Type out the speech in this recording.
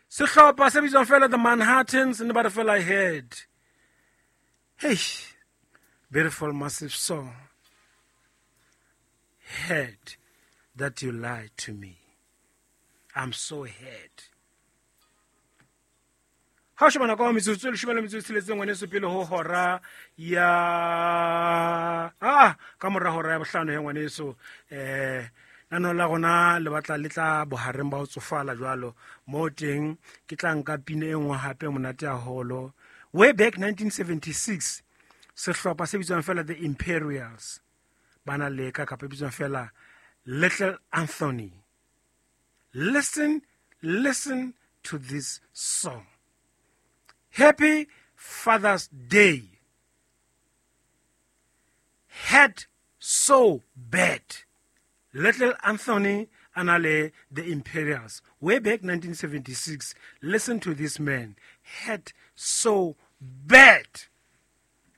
Sehlopha se bitswang fela The Manhattans ne ba re fela Head. Hey, beautiful massive song. Head that you lied to me. I'm so hurt. Ha o shebana ka metsotso e leshome le metso e tsheletseng ngwaneso pele ho hora ya a ka mora hora ya bohlano he ngwaneso. Nano la rona le batla le tla bohareng ba ho tsofala jwalo mo teng ke tla nka pina e nngwe hape monate haholo. Way back 1976, sehlopha se bitswang fela The Imperials ba na leka kapa e bitswang fela Little Anthony. Listen, listen to this song. Happy Father's Day. Head so bad. Little Anthony anale The Imperials. Way back 1976. Listen to this man. Head so bad.